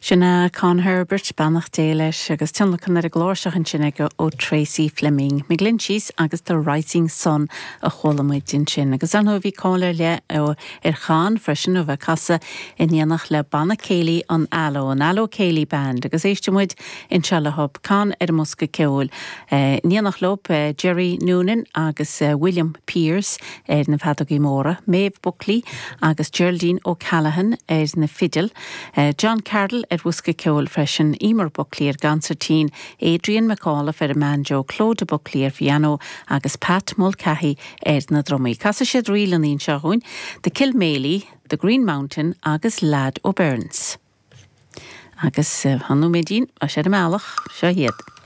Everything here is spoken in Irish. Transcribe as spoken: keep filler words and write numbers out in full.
Sin é Con Herbert beannacht Dé leis agus tionlacan ar an gcláirseach ansin aige ó Tracy Fleming. McGlinchey's agus The Rising Sun a chuala muid ansin. Agus an bhí cáil ar leith ar Chon freisin ó bheith casadh in éineacht le banna céilí an Allo, an Allo Céilí Band, agus éistfidh muid anseo le Con ar an mbosca ceoil. In éineacht leo Jerry Noonan agus William Pierce ar na feadógaí móra, Maeve Buckley agus Geraldine O'Callaghan ar na fidil, John Carroll ar bhosca ceoil freisin Emer Buckley ar consairtín, Adrian McAuliffe ar an mbanjo, Clodagh Buckley ar piano agus Pat Mulcahy ar na drumaí. Casfaidh siad ríleanna anseo dúinn, The Kilmaley, The Green Mountain agus Lad O'Beirne's. Agus hanú médín a sé meallach seo hiad.